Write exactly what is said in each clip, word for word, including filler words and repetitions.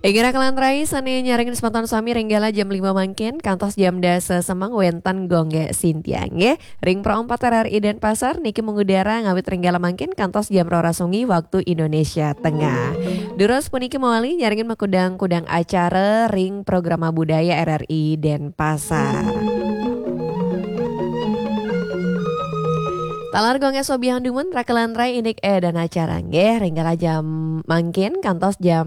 Inggih raka lan rai sané nyarengin semeton sami ring galah jam lima mangkin kantos jam dasa semeng wénten Gung Sintiang nggih. Ring Pro empat R R I Denpasar niki mengudara ngawit ring galah mangkin kantos jam roras wengi waktu Indonesia Tengah. Durus puniki mawali nyarengin makudang-kudang acara ring Programa Budaya R R I Denpasar. Taler Gung Sobiahang dumun raka lan rai indik édan acara nggih ring galah jam mangkin kantos jam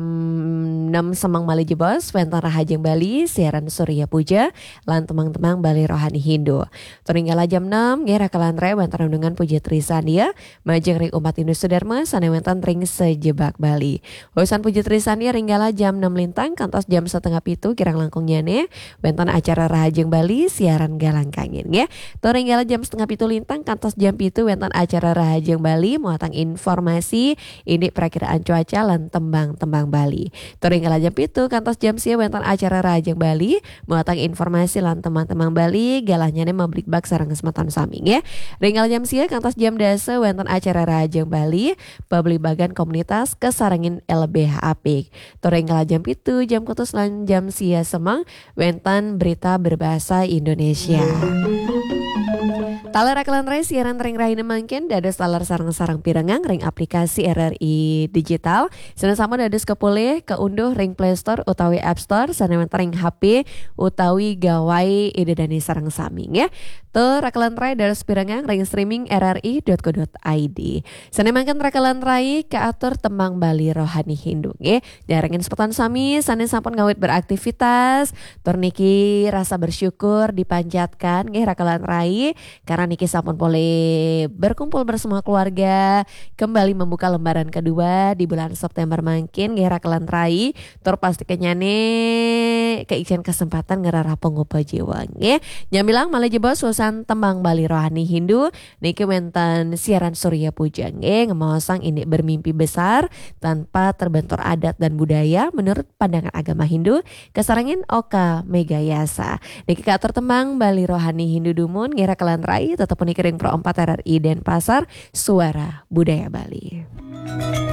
enam semeng malih jebos wénten Rahajeng Bali siaran Surya Puja lan tembang-tembang Bali Rohani Hindu. Tur ring galah jam enam nggih raka lan rai wénten renungan Puja Trisandya majeng ring umat Hindu sedharma sané wénten ring sajebag Bali. Wusan Puja Trisandya ring galah jam enam lintang kantos jam setengah pitu kirang langkungnyané wénten acara Rahajeng Bali siaran Galang Kangin nggih. Tur ring galah jam setengah pitu lintang kantos jam pitu wénten acara Rahajeng Bali muatang informasi indik prakiraan cuaca lan tembang-tembang Bali. Tur ring galah jam pitu kantos jam sia wénten acara Rahajeng Bali muatang informasi lan tembang-tembang Bali galahnyané mabligbagan sareng semeton sami nggih. Ring galah jam sia kantos jam dasa wénten acara Rahajeng Bali pabligbagan komunitas kasarengin L B H apik. Tur ring galah jam pitu, jam kutus lan jam sia semeng wénten berita berbahasa Indonesia. Taler raka lan rai siaran ring rahina mangkin dados taler sareng-sareng pirengang ring aplikasi R R I Digital. Sané sampun dados kapolih kaunduh ring Play Store utawi App Store sané wénten ring H P utawi gawai ida dané sareng sami nggih. Tur raka lan rai dados pirengang ring streaming R R I dot co dot I D. Sané mangkin raka lan rai kaatur tembang Bali Rohani Hindu nggih. Nyarengin semeton sami sané sampun ngawit beraktivitas, tur niki rasa bersyukur dipanjatkan nggih raka lan rai, karena niki sampun polih berkumpul bersama keluarga, kembali membuka lembaran kedua di bulan September mangkin nggih raka lan rai, tur pastikannyané kaicén kesempatan ngrereh pangupa jiwa nggih. Nyamilang malih jebos wusan tembang Bali Rohani Hindu, niki wénten siaran Surya Puja nggih, ngemaosang indik bermimpi besar tanpa terbentur adat dan budaya menurut pandangan agama Hindu, kasarengin Oka Megayasa. Niki kaatur tembang Bali Rohani Hindu dumun nggih raka lan rai, tetep puniki ring Pro empat R R I Denpasar, Suara Budaya Bali.